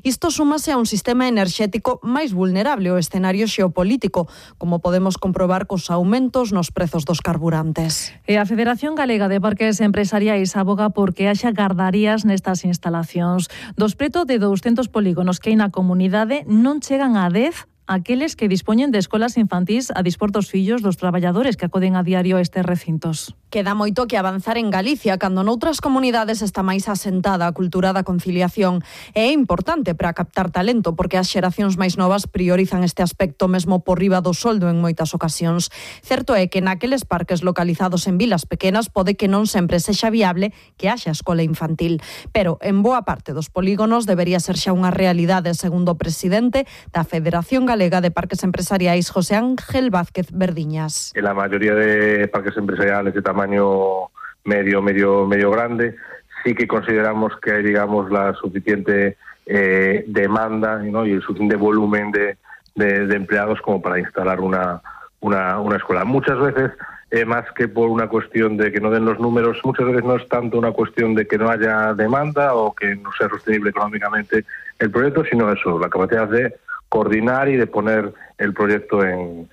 Isto súmase a un sistema enerxético máis vulnerable ao escenario xeopolítico, como podemos comprobar cos aumentos nos prezos dos carburantes. E a Federación Galega de Parques Empresariais aboga porque haxa gardarías nestas instalacións. Dos preto de 200 polígonos que hai na comunidade non chegan a 10 aqueles que dispoñen de escolas infantís a dispor dos fillos dos traballadores que acoden a diario a estes recintos. Queda moito que avanzar en Galicia, cando noutras comunidades está máis asentada a cultura da conciliación. É importante para captar talento, porque as xeracións máis novas priorizan este aspecto mesmo por riba do soldo en moitas ocasións. Certo é que naqueles parques localizados en vilas pequenas pode que non sempre sexa viable que haxa escola infantil, pero en boa parte dos polígonos debería ser xa unha realidade, segundo o presidente da Federación Galega de Parques Empresariais, José Ángel Vázquez Verdiñas. En la mayoría de parques empresariales de tamaño medio grande, sí que consideramos que hay, digamos, la suficiente demanda, ¿no? Y el suficiente volumen de empleados como para instalar una escuela. Muchas veces, más que por una cuestión de que no den los números, muchas veces no es tanto una cuestión de que no haya demanda o que no sea sostenible económicamente el proyecto, sino eso, la capacidad de coordinar y de poner el proyecto en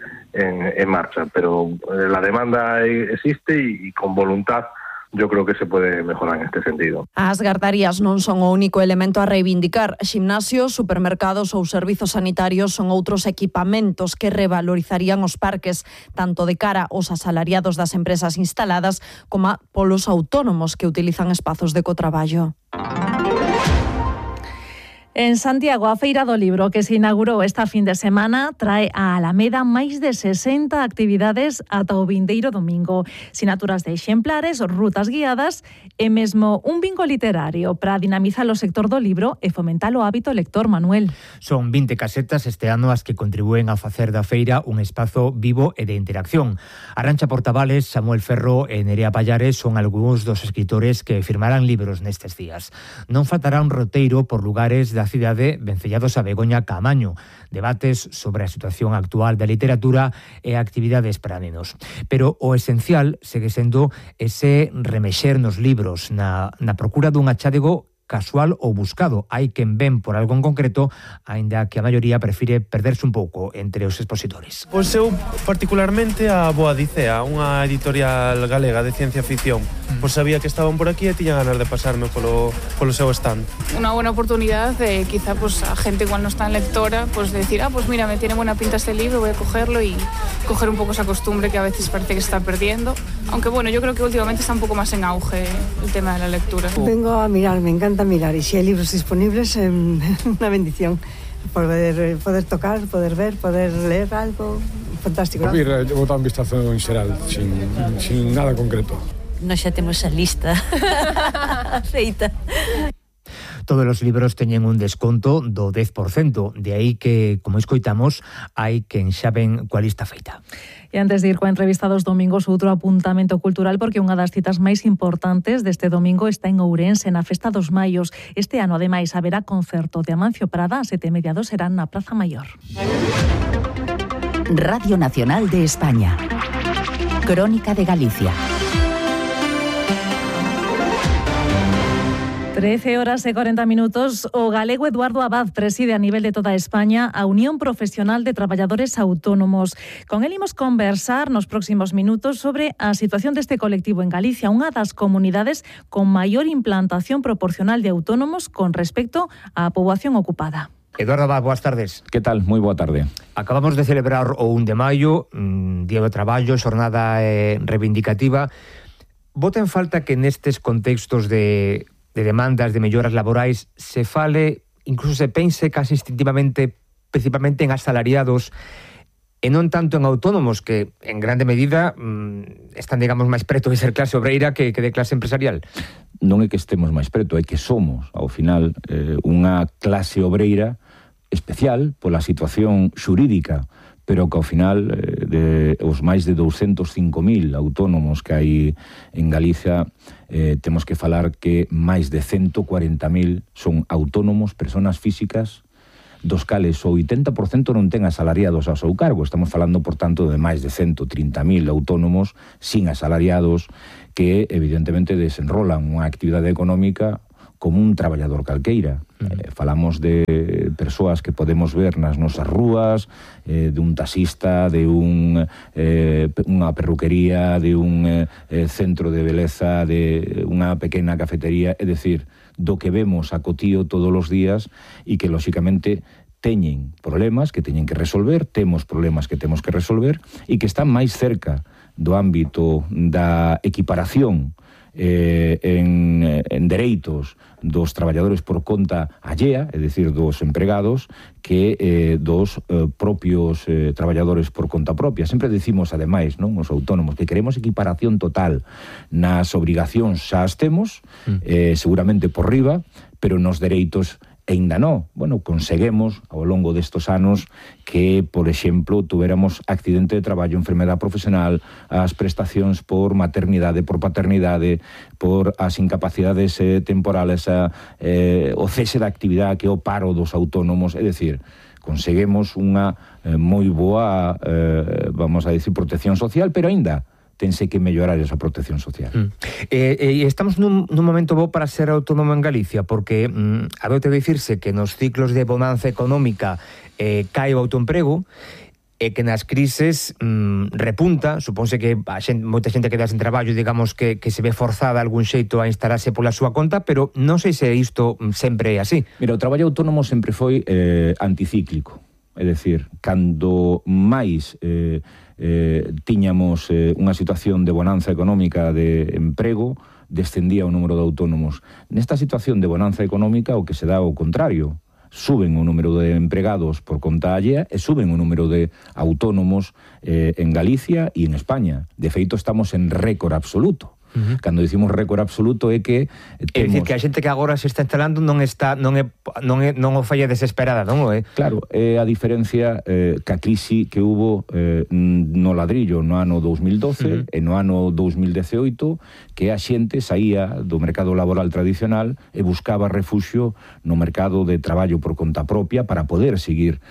marcha. Pero la demanda existe y con voluntad yo creo que se puede mejorar en este sentido. As gardarías non son o único elemento a reivindicar. Ximnasios, supermercados ou servizos sanitarios son outros equipamentos que revalorizarían os parques, tanto de cara aos asalariados das empresas instaladas como polos autónomos que utilizan espazos de cotraballo. En Santiago, a Feira do Libro, que se inaugurou esta fin de semana, trae a Alameda máis de 60 actividades ata o vindeiro domingo. Sinaturas de exemplares, rutas guiadas e mesmo un bingo literario para dinamizar o sector do libro e fomentar o hábito lector, Manuel. Son 20 casetas este ano as que contribúen a facer da feira un espazo vivo e de interacción. Arantxa Portavales, Samuel Ferro e Nerea Pallares son algúns dos escritores que firmarán libros nestes días. Non faltará un roteiro por lugares da cidade vencellados a Begoña Caamaño, debates sobre a situación actual da literatura e actividades para nenos. Pero o esencial segue sendo ese remexer nos libros, na procura dun achádego casual ou buscado. Hai quen ven por algo en concreto, aínda que a maioría prefire perderse un pouco entre os expositores. Pois eu particularmente a Boa Dicea, unha editorial galega de ciencia ficción. Pois sabía que estaban por aquí e tiña ganas de pasarme polo seu stand. Una buena oportunidad de quizá pues a gente igual no está en lectora, pues de decir, pues mira, me tiene buena pinta este libro, voy a cogerlo y coger un poco esa costumbre que a veces parece que se está perdiendo. Aunque bueno, yo creo que últimamente está un poco más en auge el tema de la lectura. Vengo a mirar, me encanta mirar, y si hay libros disponibles, una bendición. Poder tocar, poder ver, poder leer algo fantástico. Vou dar un vistazo en xeral, sin nada concreto. Nós xa temos a lista feita. Todos os libros teñen un desconto do 10%, de aí que, como escoitamos, hai quen xa ven coa lista feita. E antes de ir coa entrevista dos domingos, outro apuntamento cultural, porque unha das citas máis importantes deste domingo está en Ourense, na Festa dos Maios. Este ano, ademais, haberá concerto de Amancio Prada, a 7:30 serán na Praza Maior. Radio Nacional de España. Crónica de Galicia. 13:40. O galego Eduardo Abad preside a nivel de toda España a Unión Profesional de Traballadores Autónomos. Con el imos conversar nos próximos minutos sobre a situación deste colectivo en Galicia, unha das comunidades con maior implantación proporcional de autónomos con respecto á poboación ocupada. Eduardo Abad, boas tardes. Que tal? Moi boa tarde. Acabamos de celebrar o 1 de maio, Día do Traballo, xornada reivindicativa. Bota en falta que nestes contextos de demandas, de melloras laborais, se fale, incluso se pense casi instintivamente, principalmente en asalariados e non tanto en autónomos, que en grande medida están, digamos, máis preto de ser clase obreira que de clase empresarial. Non é que estemos máis preto, é que somos, ao final, unha clase obreira especial pola situación xurídica, pero que ao final os máis de 205.000 autónomos que hai en Galicia, temos que falar que máis de 140.000 son autónomos, persoas físicas, dos cales o 80% non ten asalariados ao seu cargo. Estamos falando, por tanto, de máis de 130.000 autónomos sin asalariados que, evidentemente, desenrolan unha actividade económica como un traballador calqueira. Falamos de persoas que podemos ver nas nosas rúas, de un taxista, de unha perruquería, de un centro de beleza, de unha pequena cafetería, é dicir, do que vemos a cotío todos os días e que, lóxicamente, teñen problemas que teñen que resolver, temos problemas que temos que resolver e que están máis cerca do ámbito da equiparación en dereitos dos traballadores por conta allea, é dicir, dos empregados, que dos propios traballadores por conta propia. Sempre decimos, ademais, non, os autónomos, que queremos equiparación total. Nas obrigacións xa as temos, seguramente por riba, pero nos dereitos ainda non. Bueno, conseguemos ao longo destos anos que, por exemplo, tuéramos accidente de traballo, enfermedade profesional, as prestacións por maternidade, por paternidade, por as incapacidades temporales, o cese da actividade, que é o paro dos autónomos, é dicir, conseguimos unha moi boa, vamos a decir, protección social, pero aínda tense que mellorar esa protección social. Estamos nun momento bo para ser autónomo en Galicia, porque adoita dicirse que nos ciclos de bonanza económica cae o autoemprego, e que nas crises repunta. Supónse que moita xente queda sen traballo, digamos que se ve forzada algún xeito a instalarse pola súa conta, pero non sei se isto sempre é así. Mira, o traballo autónomo sempre foi anticíclico, é dicir, cando máis tiñamos unha situación de bonanza económica, de emprego, descendía o número de autónomos. Nesta situación de bonanza económica o que se dá o contrario, suben o número de empregados por conta allea e suben o número de autónomos en Galicia e en España. De feito, estamos en récord absoluto. Cando dicimos récord absoluto é que temos... É dicir, que a xente que agora se está instalando non o falla desesperada, non? Claro, é a diferencia que a crise que hubo no ladrillo no ano 2012 e no ano 2018, que a xente saía do mercado laboral tradicional e buscaba refuxio no mercado de traballo por conta propia para poder seguir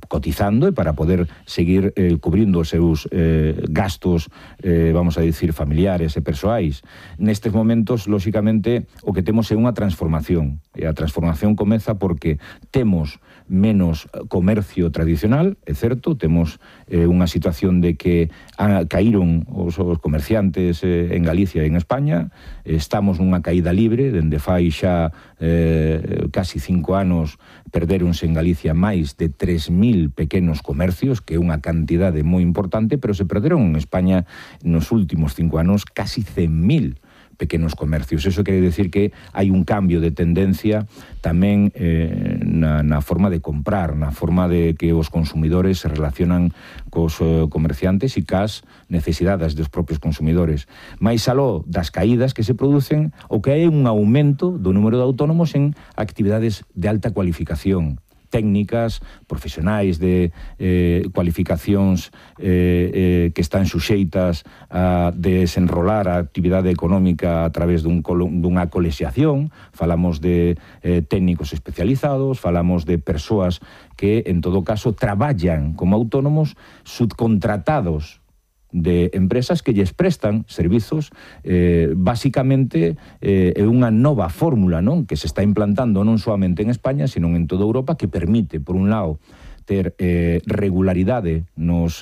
cotizando e para poder seguir cubrindo os seus gastos, vamos a dicir, familiares e persoais. Nestes momentos, lóxicamente, o que temos é unha transformación. E a transformación comeza porque temos menos comercio tradicional, é certo, temos unha situación de que caíron os comerciantes en Galicia e en España, estamos nunha caída libre, dende fai xa casi 5 anos perderonse en Galicia máis de 3.000 pequenos comercios, que é unha cantidade moi importante, pero se perderon en España nos últimos 5 anos casi 100.000 pequenos comercios. Eso quere decir que hai un cambio de tendencia tamén na forma de comprar, na forma de que os consumidores se relacionan cos comerciantes e cas necesidades dos propios consumidores. Mais aló das caídas que se producen, o que hai un aumento do número de autónomos en actividades de alta cualificación, técnicas, profesionais de cualificacións que están suxeitas a desenrolar a actividade económica a través dunha colexiación. Falamos de técnicos especializados, falamos de persoas que, en todo caso, traballan como autónomos subcontratados de empresas que lles prestan servizos. Básicamente é unha nova fórmula, non, que se está implantando non soamente en España, sino en toda Europa, que permite, por un lado, ter regularidade nos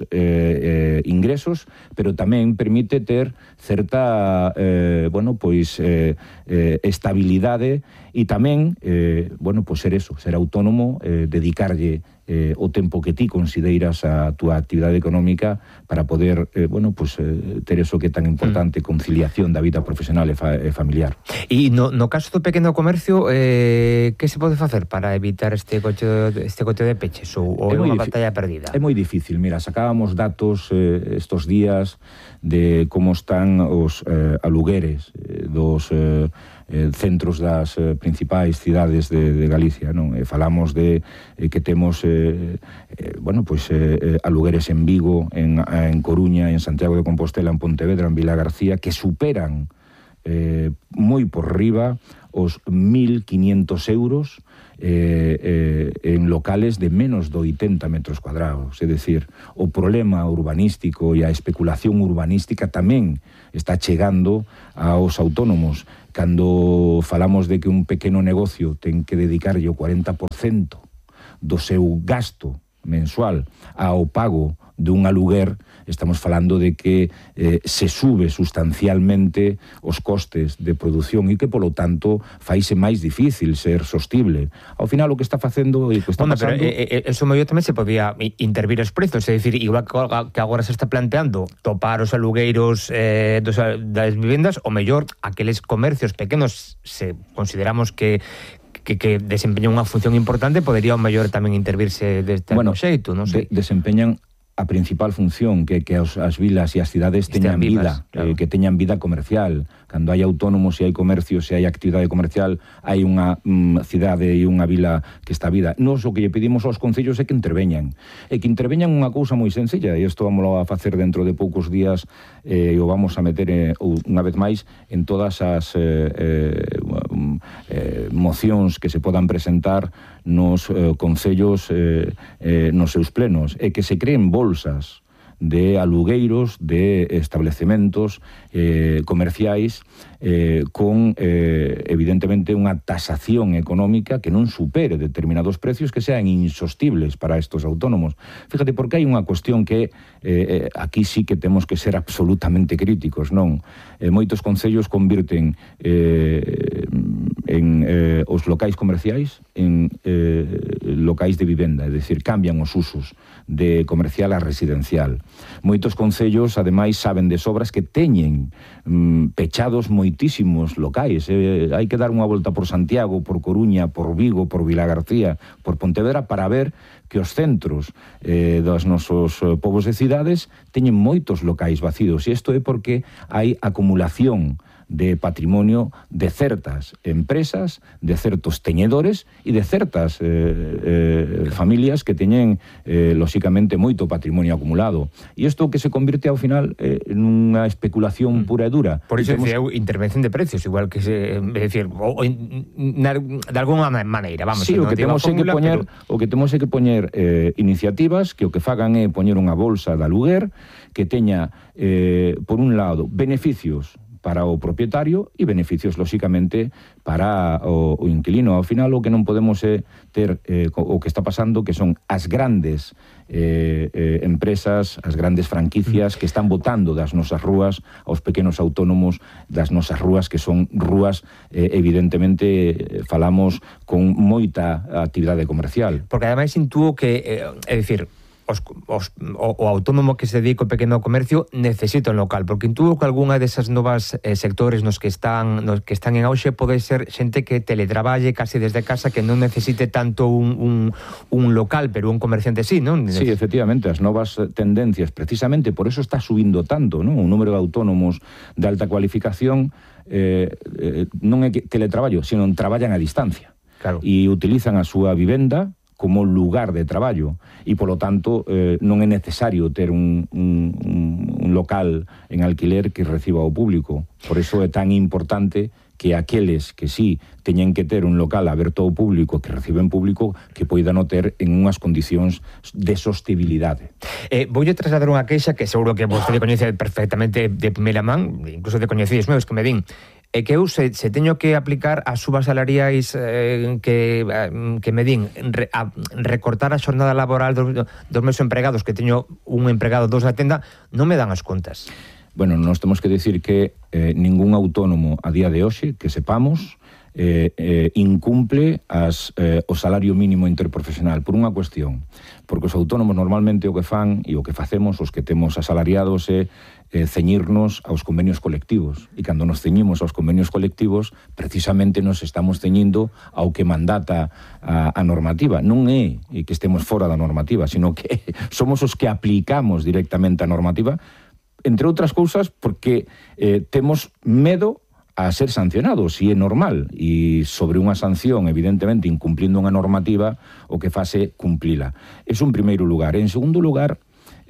ingresos, pero tamén permite ter certa estabilidade e tamén ser eso, ser autónomo, dedicarlle o tempo que ti consideras a túa actividade económica para poder ter eso que é tan importante, conciliación da vida profesional e familiar. E no caso do pequeno comercio, que se pode facer para evitar este coche de peches ou é unha batalla perdida? É moi difícil. Mira, sacábamos datos estos días de como están os alugueres dos centros das principais cidades de Galicia, non? Falamos de que temos alugueres en Vigo, en Coruña, en Santiago de Compostela, en Pontevedra, en Vilagarcía, que superan moi por riba os 1.500 euros en locales de menos de 80 metros cuadrados. É dicir, o problema urbanístico e a especulación urbanística tamén está chegando aos autónomos. Cando falamos de que un pequeno negocio ten que dedicarlle o 40% do seu gasto mensual ao pago dun aluguer, estamos falando de que se sube sustancialmente os costes de produción e que, polo tanto, faise máis difícil ser sostible. Ao final, o que está facendo e que está pasando... Pero eso mellor tamén se podía intervir os prezos, é dicir, igual que agora se está planteando topar os alugueiros das vivendas, o mellor aqueles comercios pequenos, se consideramos que desempeñan unha función importante, podería o mellor tamén intervirse deste xeito, non sei. Desempeñan a principal función, que as vilas e as cidades teñan vida, claro. Que teñan vida comercial. Cando hai autónomos e hai comercio, se hai actividade comercial, hai unha cidade e unha vila que está vida. Nos o que lle pedimos aos concellos é que interveñan. E que interveñan unha cousa moi sencilla, e isto vamos a facer dentro de poucos días, e o vamos a meter unha vez máis en todas as mocións que se podan presentar nos concellos nos seus plenos, e que se creen bolsas de alugueiros de establecementos comerciais con, evidentemente, unha tasación económica que non supere determinados precios que sean insostibles para estos autónomos. Fíjate, porque hai unha cuestión que aquí sí que temos que ser absolutamente críticos, non? Moitos concellos convirten os locais comerciais en locais de vivenda, é dicir, cambian os usos de comercial a residencial. Moitos concellos, ademais, saben de sobras que teñen pechados moitísimos locais. Hai que dar unha volta por Santiago, por Coruña, por Vigo, por Vilagarcía, por Pontevedra, para ver que os centros dos nosos povos e cidades teñen moitos locais vacíos. E isto é porque hai acumulación de patrimonio de certas empresas, de certos teñedores e de certas familias que teñen, lóxicamente, moito patrimonio acumulado. E isto que se convirte ao final nunha especulación pura e dura. Por iso decía intervención de precios, igual que se... É dicir, de alguna maneira, vamos... Sí, o que temos é que poñer iniciativas que o que fagan é poñer unha bolsa de aluguer que teña, por un lado, beneficios para o propietario e beneficios, lóxicamente, para o inquilino. Ao final, o que non podemos é ter o que está pasando, que son as grandes empresas, as grandes franquicias que están botando das nosas rúas aos pequenos autónomos das nosas rúas, que son rúas, evidentemente, falamos con moita actividade comercial. Porque, ademais, intúo que, é dicir, o autónomo que se dedica ao pequeno comercio necesita un local, porque intuo que algunha desas novas sectores nos que están en auxe pode ser xente que teletraballe case desde casa, que non necesite tanto un local, pero un comerciante sí, non? Sí, efectivamente, as novas tendencias, precisamente por eso está subindo tanto, non? O número de autónomos de alta cualificación non é que teletraballo, sino traballan a distancia. Claro. E utilizan a súa vivenda como lugar de traballo e, polo tanto, non é necesario ter un local en alquiler que reciba o público. Por iso é tan importante que aqueles que sí teñen que ter un local aberto ao público, que reciben público, que poidan o ter en unhas condicións de sostibilidade. Voulle trasladar unha queixa que seguro que vostede coñece perfectamente de primeira man, incluso de coñecidos meus que me din, é que eu se teño que aplicar as subas salariais que me din, recortar a xornada laboral dos meus empregados, que teño un empregado, dos na tenda, non me dan as contas. Bueno, nós temos que decir que ningún autónomo a día de hoxe, que sepamos, incumple o salario mínimo interprofesional por unha cuestión, porque os autónomos normalmente o que fan e o que facemos os que temos asalariados é ceñirnos aos convenios colectivos, e cando nos ceñimos aos convenios colectivos precisamente nos estamos ceñindo ao que mandata a normativa. Non é que estemos fora da normativa, sino que somos os que aplicamos directamente a normativa, entre outras cousas porque temos medo a ser sancionados, e é normal, e sobre unha sanción, evidentemente, incumplindo unha normativa, o que fase cumplila. É un primeiro lugar. En segundo lugar,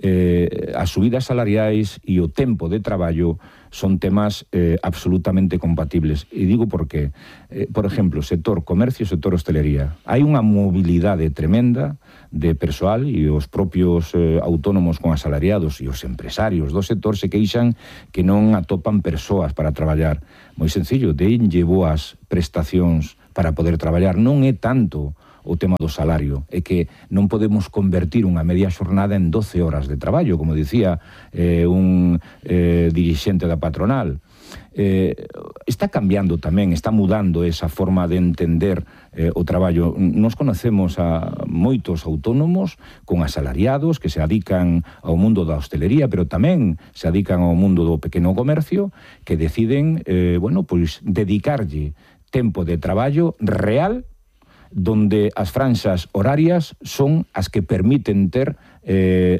as subidas salariais e o tempo de traballo son temas absolutamente compatibles. E digo porque, por exemplo, sector comercio, sector hostelería. Hai unha mobilidade tremenda de persoal e os propios autónomos con asalariados e os empresarios do sector se queixan que non atopan persoas para traballar. Moi sencillo, denlle boas prestacións para poder traballar. Non é tanto o tema do salario, é que non podemos convertir unha media xornada en 12 horas de traballo, como dicía un dirixente da patronal. Está cambiando tamén, está mudando esa forma de entender o traballo. Nos conocemos a moitos autónomos con asalariados que se adican ao mundo da hostelería, pero tamén se adican ao mundo do pequeno comercio, que deciden, pois dedicarlle tempo de traballo real donde as franxas horarias son as que permiten ter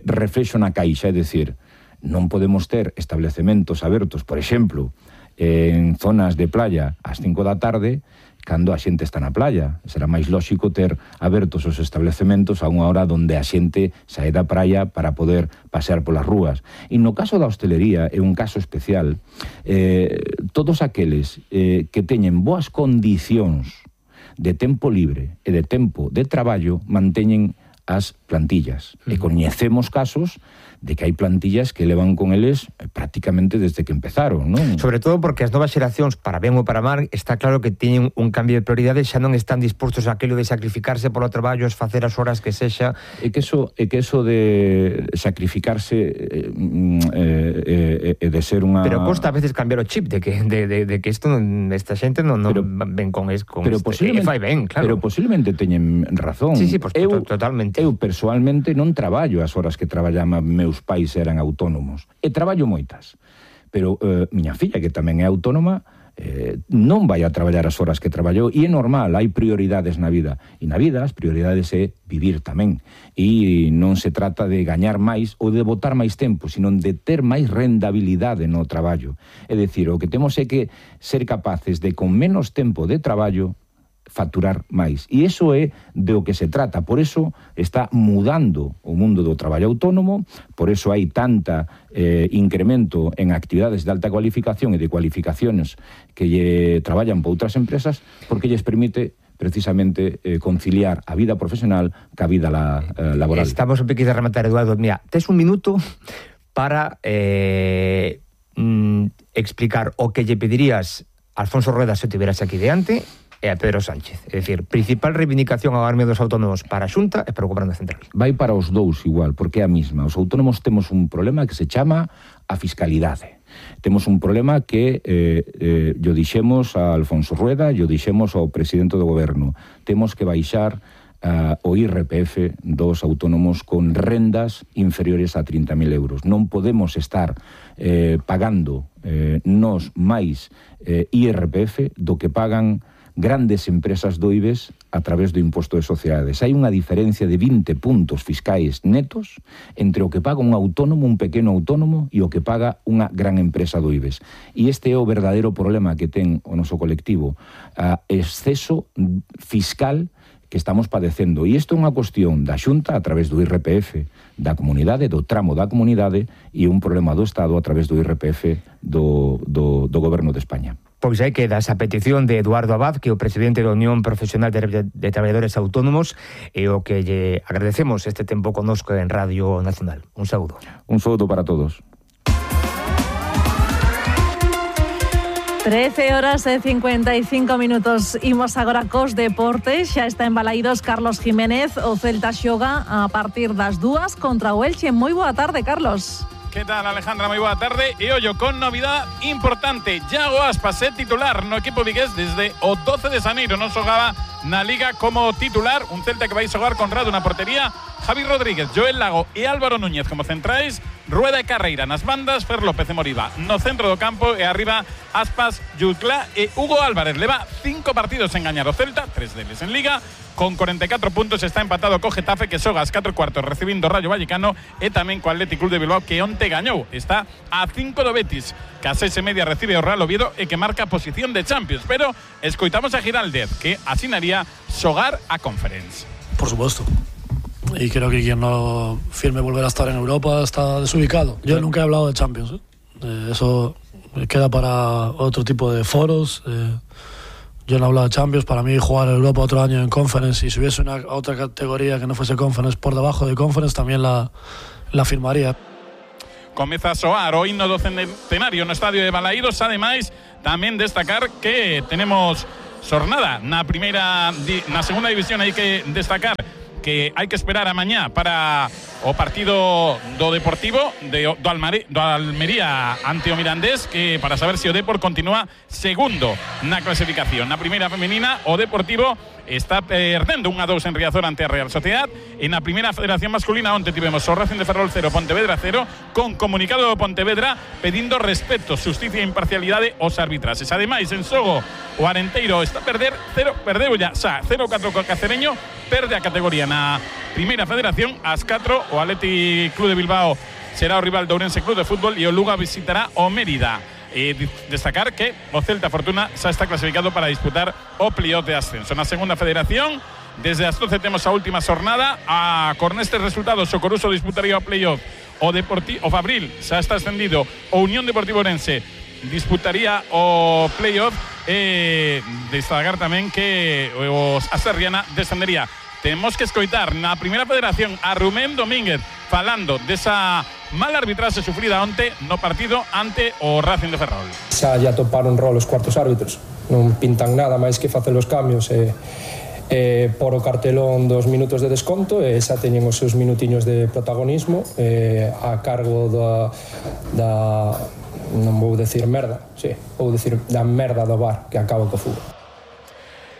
reflexo na caixa, é dicir, non podemos ter establecementos abertos, por exemplo, en zonas de playa ás 5 da tarde, cando a xente está na playa. Será máis lóxico ter abertos os establecementos a unha hora donde a xente sae da praia para poder pasear polas rúas. E no caso da hostelería é un caso especial. Todos aqueles que teñen boas condicións de tempo libre e de tempo de traballo manteñen as plantillas. E coñecemos casos de que hai plantillas que levan con eles prácticamente desde que empezaron, non? Sobre todo porque as novas xeracións, para ben ou para mal, está claro que teñen un cambio de prioridades, xa non están dispostos a aquilo de sacrificarse polo traballo, facer as horas que sexa. E que eso de sacrificarse e de ser unha... Pero costa a veces cambiar o chip de que isto esta xente non ven con posiblemente fai ben, claro. Pero posiblemente teñen razón. Sí, pues, totalmente. Eu persoalmente non traballo as horas que traballaban meus pais eran autónomos. E traballo moitas. Pero miña filla, que tamén é autónoma, non vai a traballar as horas que traballou, e é normal, hai prioridades na vida. E na vida as prioridades é vivir tamén. E non se trata de gañar máis ou de botar máis tempo, sino de ter máis rendabilidade no traballo. É dicir, o que temos é que ser capaces de, con menos tempo de traballo, facturar máis. E iso é de o que se trata. Por eso está mudando o mundo do traballo autónomo, por eso hai tanta incremento en actividades de alta cualificación e de cualificaciones que traballan por outras empresas, porque lles permite precisamente conciliar a vida profesional ca vida laboral. Estamos un poquito a rematar, Eduardo. Mira, tes un minuto para explicar o que lle pedirías a Alfonso Rueda se tiveras aquí diante e a Pedro Sánchez. É dicir, principal reivindicación ao gremio dos autónomos para a Xunta e para o Goberno Central. Vai para os dous igual, porque é a mesma. Os autónomos temos un problema que se chama a fiscalidade. Temos un problema que yo dixemos a Alfonso Rueda, yo dixemos ao presidente do Goberno. Temos que baixar o IRPF dos autónomos con rendas inferiores a 30.000 euros. Non podemos estar pagando nos máis IRPF do que pagan grandes empresas do IBEX a través do imposto de sociedades. Hai unha diferencia de 20 puntos fiscais netos entre o que paga un autónomo, un pequeno autónomo, e o que paga unha gran empresa do IBEX. E este é o verdadeiro problema que ten o noso colectivo, exceso fiscal que estamos padecendo. E isto é unha cuestión da Xunta a través do IRPF da comunidade, do tramo da comunidade, e un problema do Estado a través do IRPF do Goberno de España. Pois aí queda esa petición de Eduardo Abad, que é o presidente da Unión Profesional de Traballadores Autónomos, e o que lle agradecemos este tempo connosco en Radio Nacional. Un saúdo. Un saúdo para todos. 13 horas e 55 minutos. Imos agora cos deportes. Xa está en Balaídos Carlos Jiménez. O Celta xoga a partir das 2 contra o Elche. Moi boa tarde, Carlos. ¿Qué tal, Alejandra? Muy buena tarde. E ollo, con novidad importante, Iago Aspas é titular no equipo vigués desde o 12 de xaneiro. Non xogaba na Liga como titular. Un Celta que vai xogar con Rado na portería, Javi Rodríguez, Joel Lago e Álvaro Núñez como centrais, Rueda e Carreira nas bandas, Fer López e Moriba no centro do campo, e arriba Aspas, Jutla e Hugo Álvarez. Leva 5 partidos en gañar o Celta, 3 deles en Liga. Con 44 puntos está empatado co Getafe, que xoga ás 4:15 recibindo o Rayo Vallecano, e tamén co Athletic Club de Bilbao, que onte gañou. Está a 5 do Betis, que a 6:30 recibe o Real Oviedo e que marca posición de Champions. Pero escoitamos a Giraldez, que asinaría xogar a Conference. Por supuesto. y creo que quien no firme volver a estar en Europa está desubicado. Yo nunca he hablado de Champions, eso queda para otro tipo de foros. Yo no he hablado de Champions. Para mí jugar en Europa otro año en Conference, y si hubiese una otra categoría que no fuese Conference por debajo de Conference, también la firmaría. Comeza a soar o himno do centenario no estadio de Balaídos. Ademais, tamén destacar que tenemos xornada na segunda división. Hai que destacar que hai que esperar a mañá para o partido do Deportivo do Almería ante o Mirandés, que para saber se o Depor continúa segundo na clasificación. Na primeira femenina, o Deportivo está perdendo 1-2 en Riazor ante a Real Sociedad. En a primeira federación masculina, onte tivemos o Racing de Ferrol 0, Pontevedra 0, con comunicado do Pontevedra pedindo respeto, justicia e imparcialidade aos arbitrases. Ademais, en xogo, o Arenteiro está a perder 0-4 co Cacereño, perde a categoría na primeira federación. Ás 4 o Athletic Club de Bilbao será o rival do Ourense Club de Fútbol e o Lugo visitará o Mérida. Destacar que o Celta Fortuna xa está clasificado para disputar o playoff de ascenso. Na segunda federación, desde as 12 temos a última xornada. Con estes resultados, o Coruso disputaría o playoff, o Fabril xa está ascendido, o Unión Deportivo Orense disputaría o playoff. Destacar tamén que a Serriana descendería. Temos que escoitar na primeira federación a Rubén Domínguez falando desa mala arbitraxe sufrida onte no partido ante o Racing de Ferrol. Xa toparon rol os cuartos árbitros, non pintan nada máis que facer os cambios por o cartelón dos minutos de desconto, e xa teñen os seus minutiños de protagonismo a cargo da non vou decir merda, vou decir da merda do VAR que acaba co fútbol.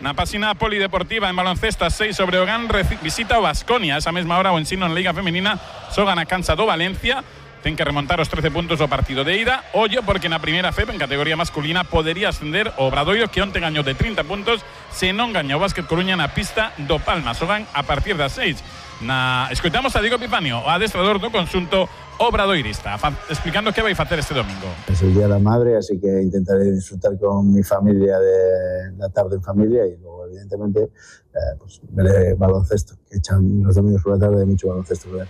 Na páxina polideportiva, en baloncesto, 6 sobre o GAN visita o Baskonia. Esa mesma hora o Ensino en Liga Femenina xoga na cancha do Valencia. Ten que remontar os 13 puntos do partido de ida. Ollo, porque na primeira FEP, en categoría masculina, podería ascender o Obradoiro, que onte gañou de 30 puntos, se non gañou o Básquet Coruña na pista do Palma. Xogan a partir das 6. Escoitamos a Diego Epifanio, o adestrador do conxunto obradoirista, explicando que vai facer este domingo. Es el Día de la Madre, así que intentaré disfrutar con mi familia de la tarde en familia, y luego evidentemente pues veré baloncesto, que echan los domingos por la tarde mucho baloncesto. ¿Verdad?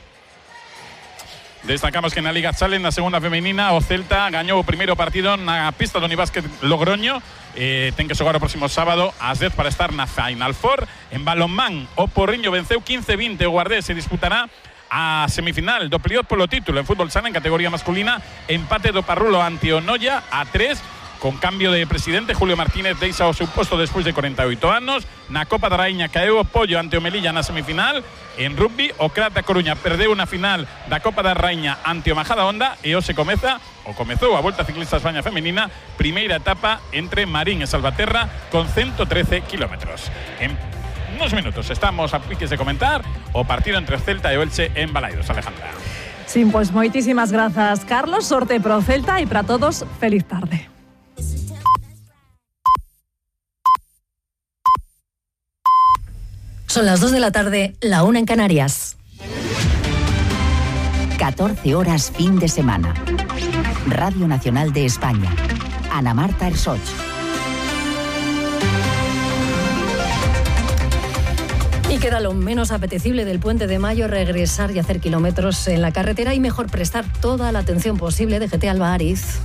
Destacamos que na Liga Challenge, na segunda femenina, o Celta gañou o primeiro partido na pista do Unibásquet Logroño. Ten que xogar o próximo sábado ás 10 para estar na Final Four. En balonmán, o Porriño venceu 15-20 o Guardés, se disputará a semifinal do playoff polo título. En fútbol sala, en categoría masculina, empate do Parrulo ante o Noia a 3. Con cambio de presidente, Julio Martínez deixa o seu posto despois de 48 anos. Na Copa da Raíña caeu o Pollo ante o Melilla na semifinal. En rugby, o Crat da Coruña perdeu na final da Copa da Raíña ante o Majadahonda, e hoxe comezou a Volta Ciclista España Femenina, primeira etapa entre Marín e Salvaterra con 113 kilómetros. En unos minutos estamos a piques de comentar o partido entre Celta e o Elche en Balaídos. Alejandra. Sí, pues moitísimas grazas, Carlos. Sorte pro Celta e para todos, feliz tarde. Son las 2 de la tarde, la 1 en Canarias. 14 horas fin de semana. Radio Nacional de España. Ana Marta Ersoch. Y queda lo menos apetecible del Puente de Mayo, regresar y hacer kilómetros en la carretera, y mejor prestar toda la atención posible. DGT Alba Ariz.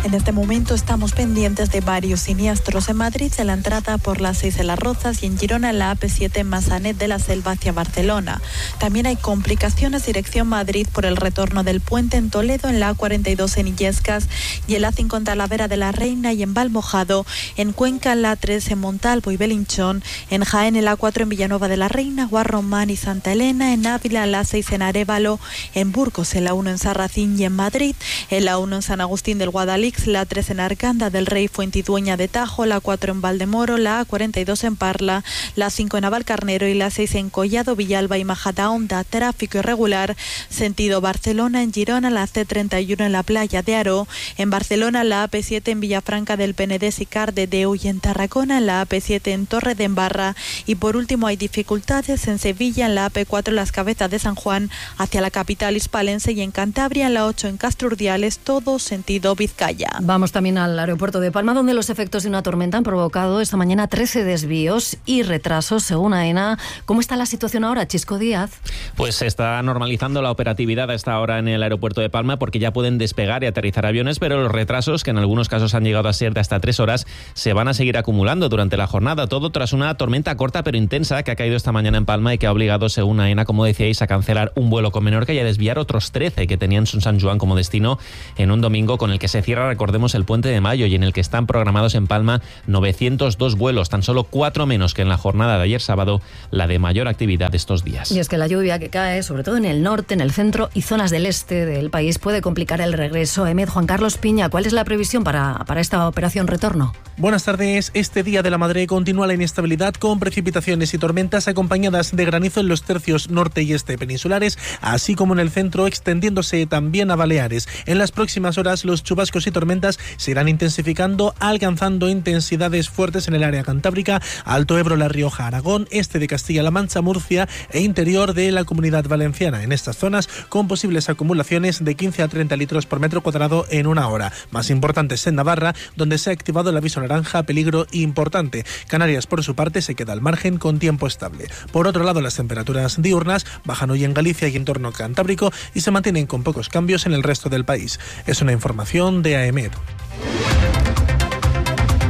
En este momento estamos pendientes de varios siniestros en Madrid, en la entrada por la 6 de Las Rozas, y en Girona en la AP7 en Massanet de la Selva hacia Barcelona. También hay complicaciones dirección Madrid por el retorno del puente en Toledo, en la A42 en Illescas y en la A5 en Talavera de la Reina y en Valmojado, en Cuenca en la A3 en Montalvo y Belinchón, en Jaén en la A4 en Villanueva de la Reina, Guarromán y Santa Elena, en Ávila en la A6 en Arévalo, en Burgos en la 1 en Sarracín y en Madrid, en la 1 en San Agustín del Guadalix, la 3 en Arganda del Rey, Fuentidueña de Tajo, la 4 en Valdemoro, la A42 en Parla, la 5 en Navalcarnero y la 6 en Collado, Villalba y Majadahonda. Tráfico irregular sentido Barcelona, en Girona la C31 en la playa de Aro, en Barcelona la AP7 en Villafranca del Penedès y Cardedeu, y en Tarragona en la AP7 en Torre de Embarra. Y por último hay dificultades en Sevilla en la AP4 en Las Cabezas de San Juan hacia la capital hispalense, y en Cantabria en la 8 en Castro Urdiales, todo sentido Vizcaya. Sevilla. Vamos también al aeropuerto de Palma, donde los efectos de una tormenta han provocado esta mañana 13 desvíos y retrasos, según AENA. ¿Cómo está la situación ahora, Chisco Díaz? Pues se está normalizando la operatividad a esta hora en el aeropuerto de Palma, porque ya pueden despegar y aterrizar aviones, pero los retrasos, que en algunos casos han llegado a ser de hasta 3 horas, se van a seguir acumulando durante la jornada. Todo tras una tormenta corta pero intensa que ha caído esta mañana en Palma y que ha obligado, según AENA, como decíais, a cancelar un vuelo con Menorca y a desviar otros 13 que tenían San Juan como destino en un domingo con el que se cierra, recordemos, el Puente de Mayo y en el que están programados en Palma 902 vuelos, tan solo 4 menos que en la jornada de ayer sábado, la de mayor actividad de estos días. Y es que la lluvia que cae, sobre todo en el norte, en el centro y zonas del este del país, puede complicar el regreso. Juan Carlos Piña, ¿cuál es la previsión para esta operación retorno? Buenas tardes. Este Día de la Madre continúa la inestabilidad con precipitaciones y tormentas acompañadas de granizo en los tercios norte y este peninsulares, así como en el centro, extendiéndose también a Baleares. En las próximas horas los chubascos y tormentas se irán intensificando, alcanzando intensidades fuertes en el área cantábrica, Alto Ebro, La Rioja, Aragón, este de Castilla-La Mancha, Murcia e interior de la Comunidad Valenciana. En estas zonas con posibles acumulaciones de 15 a 30 litros por metro cuadrado en una hora. Más importantes en Navarra, donde se ha activado el aviso naranja, peligro importante. Canarias, por su parte, se queda al margen con tiempo estable. Por otro lado, las temperaturas diurnas bajan hoy en Galicia y entorno cantábrico y se mantienen con pocos cambios en el resto del país. Es una información de AEMET.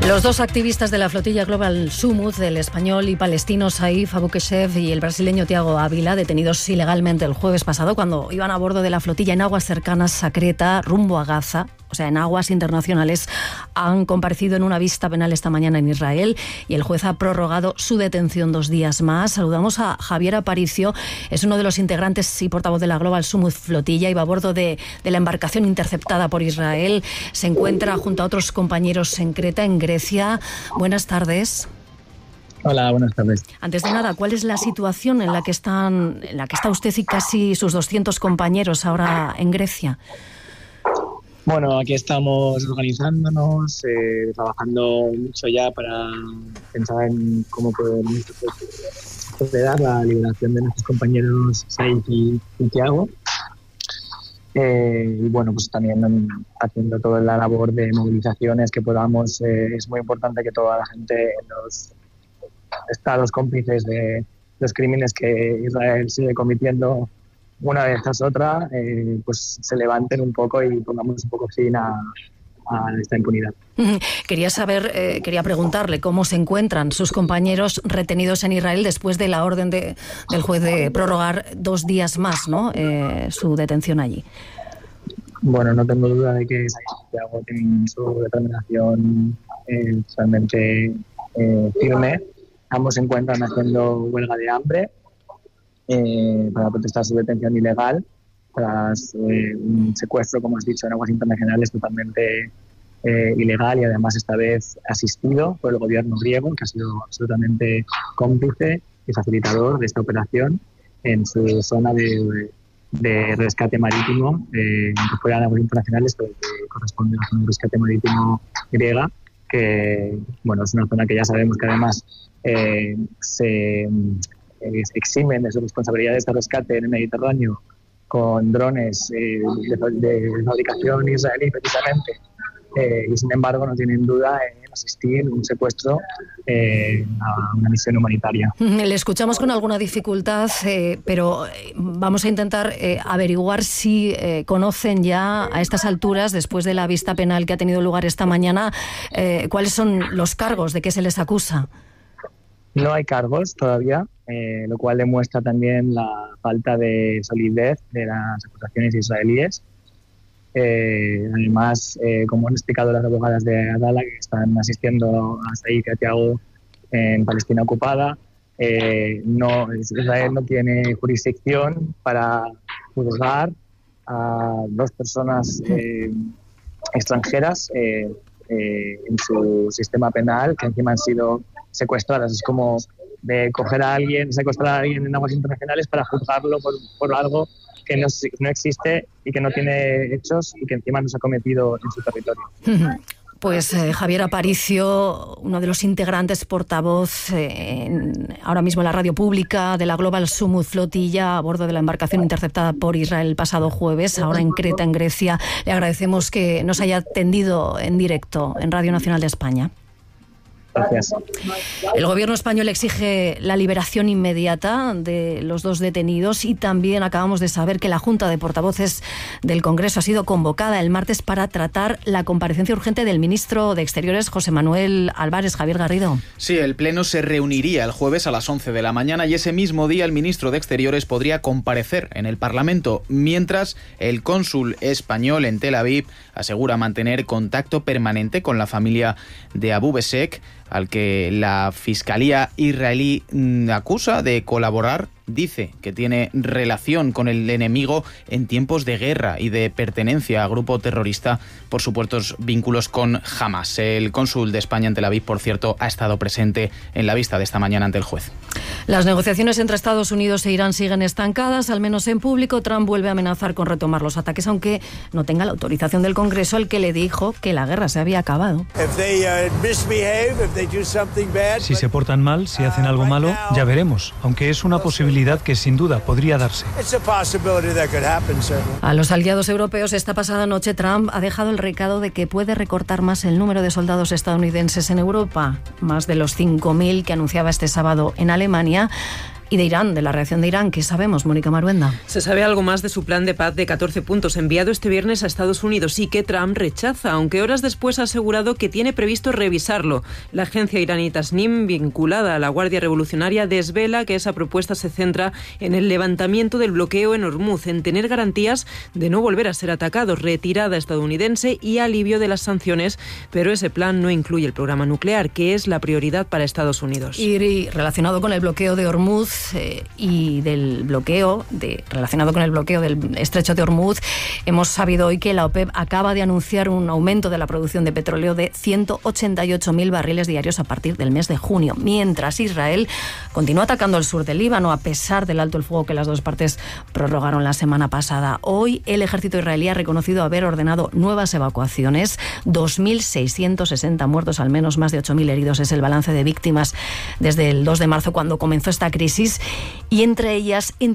Los dos activistas de la flotilla Global Sumud, el español y palestino Saif Abukeshev y el brasileño Thiago Ávila, detenidos ilegalmente el jueves pasado cuando iban a bordo de la flotilla en aguas cercanas a Creta, rumbo a Gaza, o sea, en aguas internacionales, han comparecido en una vista penal esta mañana en Israel y el juez ha prorrogado su detención 2 días más. Saludamos a Javier Aparicio, es uno de los integrantes y portavoz de la Global Sumud flotilla, iba a bordo de la embarcación interceptada por Israel, se encuentra junto a otros compañeros en Creta, en Grecia. Buenas tardes. Hola, buenas tardes. Antes de nada, ¿cuál es la situación en la que está usted y casi sus 200 compañeros ahora en Grecia? Bueno, aquí estamos organizándonos, trabajando mucho ya para pensar en cómo podemos acelerar la liberación de nuestros compañeros Saif y Thiago. Y bueno, pues también haciendo toda la labor de movilizaciones que podamos. Es muy importante que toda la gente en los estados cómplices de los crímenes que Israel sigue cometiendo una vez tras otra, pues se levanten un poco y pongamos un poco fin a esta impunidad. Quería preguntarle cómo se encuentran sus compañeros retenidos en Israel después de la orden del juez de prorrogar 2 días más, ¿no? Su detención allí. Bueno, no tengo duda de que Santiago tiene su determinación totalmente firme. Ambos se encuentran haciendo huelga de hambre para protestar su detención ilegal tras un secuestro, como has dicho, en aguas internacionales totalmente ilegal y además esta vez asistido por el gobierno griego, que ha sido absolutamente cómplice y facilitador de esta operación en su zona de rescate marítimo, aunque fuera de aguas internacionales, pero que corresponde a la zona de rescate marítimo griega, que bueno, es una zona que ya sabemos que además se eximen de sus responsabilidades de rescate en el Mediterráneo con drones de fabricación israelí precisamente, y sin embargo no tienen duda en asistir un secuestro a una misión humanitaria. Le escuchamos con alguna dificultad, pero vamos a intentar averiguar si conocen ya a estas alturas, después de la vista penal que ha tenido lugar esta mañana, cuáles son los cargos, de qué se les acusa. No hay cargos todavía, lo cual demuestra también la falta de solidez de las acusaciones israelíes. Además, como han explicado las abogadas de Adala, que están asistiendo a Saif y a Thiago en Palestina ocupada, Israel no tiene jurisdicción para juzgar a 2 personas extranjeras en su sistema penal, que encima han sido secuestradas. Es como de coger a alguien, secuestrar a alguien en aguas internacionales para juzgarlo por algo que no existe y que no tiene hechos y que encima no se ha cometido en su territorio. Pues Javier Aparicio, uno de los integrantes portavoz ahora mismo en la radio pública de la Global Summit Flotilla a bordo de la embarcación interceptada por Israel el pasado jueves, ahora en Creta, en Grecia. Le agradecemos que nos haya atendido en directo en Radio Nacional de España. Gracias. El gobierno español exige la liberación inmediata de los 2 detenidos y también acabamos de saber que la Junta de Portavoces del Congreso ha sido convocada el martes para tratar la comparecencia urgente del ministro de Exteriores, José Manuel Álvarez. Javier Garrido. Sí, el Pleno se reuniría el jueves a las 11 de la mañana y ese mismo día el ministro de Exteriores podría comparecer en el Parlamento, mientras el cónsul español en Tel Aviv asegura mantener contacto permanente con la familia de Abu Besek, al que la Fiscalía israelí acusa de colaborar. Dice que tiene relación con el enemigo en tiempos de guerra y de pertenencia a grupo terrorista por supuestos vínculos con Hamas. El cónsul de España en Tel Aviv, por cierto, ha estado presente en la vista de esta mañana ante el juez. Las negociaciones entre Estados Unidos e Irán siguen estancadas, al menos en público. Trump vuelve a amenazar con retomar los ataques, aunque no tenga la autorización del Congreso, al que le dijo que la guerra se había acabado. Si se portan mal, si hacen algo malo, ya veremos, aunque es una posibilidad que sin duda podría darse. A los aliados europeos esta pasada noche Trump ha dejado el recado de que puede recortar más el número de soldados estadounidenses en Europa, más de los 5.000 que anunciaba este sábado en Alemania. Y de Irán, de la reacción de Irán, ¿qué sabemos, Mónica Maruenda? Se sabe algo más de su plan de paz de 14 puntos enviado este viernes a Estados Unidos y que Trump rechaza, aunque horas después ha asegurado que tiene previsto revisarlo. La agencia iraní Tasnim, vinculada a la Guardia Revolucionaria, desvela que esa propuesta se centra en el levantamiento del bloqueo en Hormuz, en tener garantías de no volver a ser atacados, retirada estadounidense y alivio de las sanciones, pero ese plan no incluye el programa nuclear, que es la prioridad para Estados Unidos. Y relacionado con el bloqueo de Hormuz, y del bloqueo relacionado con el bloqueo del estrecho de Hormuz, hemos sabido hoy que la OPEP acaba de anunciar un aumento de la producción de petróleo de 188.000 barriles diarios a partir del mes de junio, mientras Israel continúa atacando el sur del Líbano a pesar del alto el fuego que las dos partes prorrogaron la semana pasada. Hoy el ejército israelí ha reconocido haber ordenado nuevas evacuaciones, 2.660 muertos, al menos más de 8.000 heridos es el balance de víctimas desde el 2 de marzo cuando comenzó esta crisis. Y entre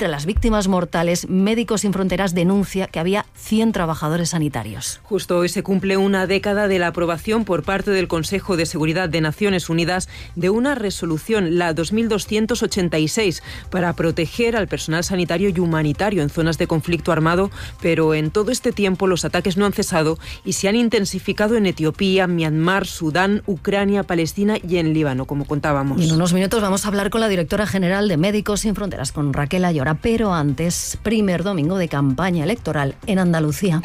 las víctimas mortales, Médicos Sin Fronteras denuncia que había 100 trabajadores sanitarios. Justo hoy se cumple una década de la aprobación por parte del Consejo de Seguridad de Naciones Unidas de una resolución, la 2286, para proteger al personal sanitario y humanitario en zonas de conflicto armado, pero en todo este tiempo los ataques no han cesado y se han intensificado en Etiopía, Myanmar, Sudán, Ucrania, Palestina y en Líbano, como contábamos. Y en unos minutos vamos a hablar con la directora general de Médicos Sin Fronteras, con Raquel Ayora, pero antes, primer domingo de campaña electoral en Andalucía.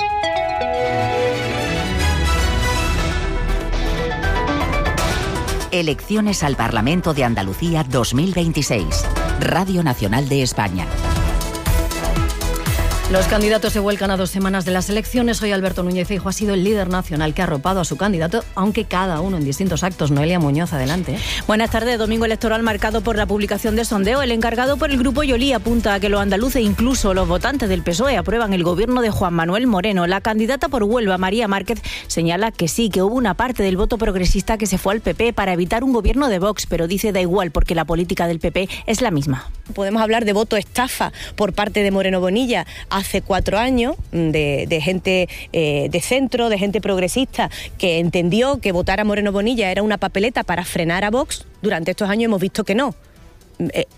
Elecciones al Parlamento de Andalucía 2026. Radio Nacional de España. Los candidatos se vuelcan a 2 semanas de las elecciones. Hoy Alberto Núñez Feijóo ha sido el líder nacional que ha arropado a su candidato, aunque cada uno en distintos actos. Noelia Muñoz, adelante. Buenas tardes. Domingo electoral marcado por la publicación de sondeo. El encargado por el Grupo Yolí apunta a que los andaluces, incluso los votantes del PSOE, aprueban el gobierno de Juan Manuel Moreno. La candidata por Huelva, María Márquez, señala que sí, que hubo una parte del voto progresista que se fue al PP para evitar un gobierno de Vox, pero dice da igual porque la política del PP es la misma. Podemos hablar de voto estafa por parte de Moreno Bonilla hace 4 años, de gente de centro, de gente progresista, que entendió que votar a Moreno Bonilla era una papeleta para frenar a Vox. Durante estos años hemos visto que no.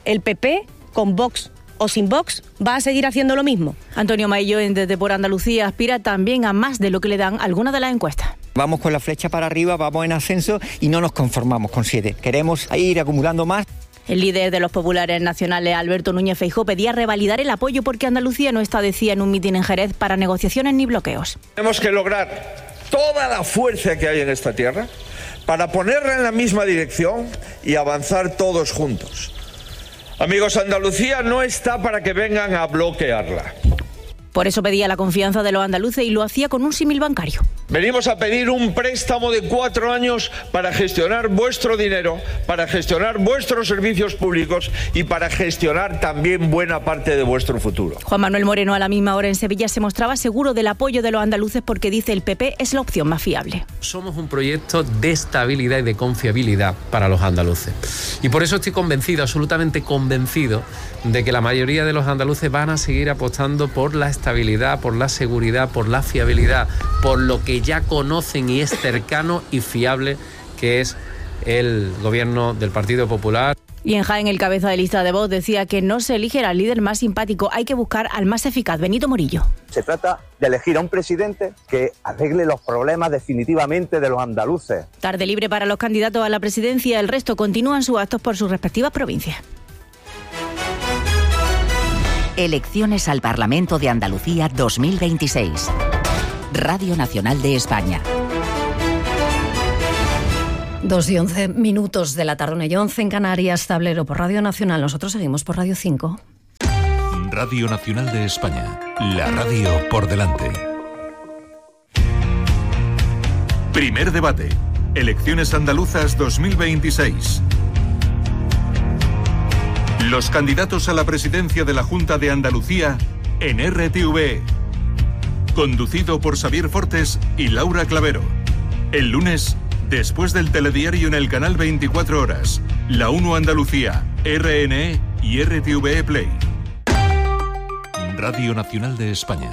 El PP, con Vox o sin Vox, va a seguir haciendo lo mismo. Antonio Maillo, desde Por Andalucía, aspira también a más de lo que le dan algunas de las encuestas. Vamos con la flecha para arriba, vamos en ascenso y no nos conformamos con 7. Queremos ir acumulando más. El líder de los populares nacionales, Alberto Núñez Feijóo, pedía revalidar el apoyo porque Andalucía no está, decía en un mitin en Jerez, para negociaciones ni bloqueos. Tenemos que lograr toda la fuerza que hay en esta tierra para ponerla en la misma dirección y avanzar todos juntos. Amigos, Andalucía no está para que vengan a bloquearla. Por eso pedía la confianza de los andaluces y lo hacía con un símil bancario. Venimos a pedir un préstamo de 4 años para gestionar vuestro dinero, para gestionar vuestros servicios públicos y para gestionar también buena parte de vuestro futuro. Juan Manuel Moreno a la misma hora en Sevilla se mostraba seguro del apoyo de los andaluces porque dice el PP es la opción más fiable. Somos un proyecto de estabilidad y de confiabilidad para los andaluces. Y por eso estoy convencido, absolutamente convencido, de que la mayoría de los andaluces van a seguir apostando por la estabilidad, por la seguridad, por la fiabilidad, por lo que ya conocen y es cercano y fiable, que es el gobierno del Partido Popular. Y en Jaén, el cabeza de lista de Vox decía que no se elige al líder más simpático, hay que buscar al más eficaz, Benito Morillo. Se trata de elegir a un presidente que arregle los problemas definitivamente de los andaluces. Tarde libre para los candidatos a la presidencia, el resto continúan sus actos por sus respectivas provincias. Elecciones al Parlamento de Andalucía 2026. Radio Nacional de España. 2:11 de la tarde, 1:11 en Canarias, tablero por Radio Nacional. Nosotros seguimos por Radio 5. Radio Nacional de España, la radio por delante. Primer debate. Elecciones andaluzas 2026. Los candidatos a la presidencia de la Junta de Andalucía en RTV. Conducido por Xavier Fortes y Laura Clavero. El lunes, después del telediario en el canal 24 horas, La 1 Andalucía, RNE y RTV Play. Radio Nacional de España.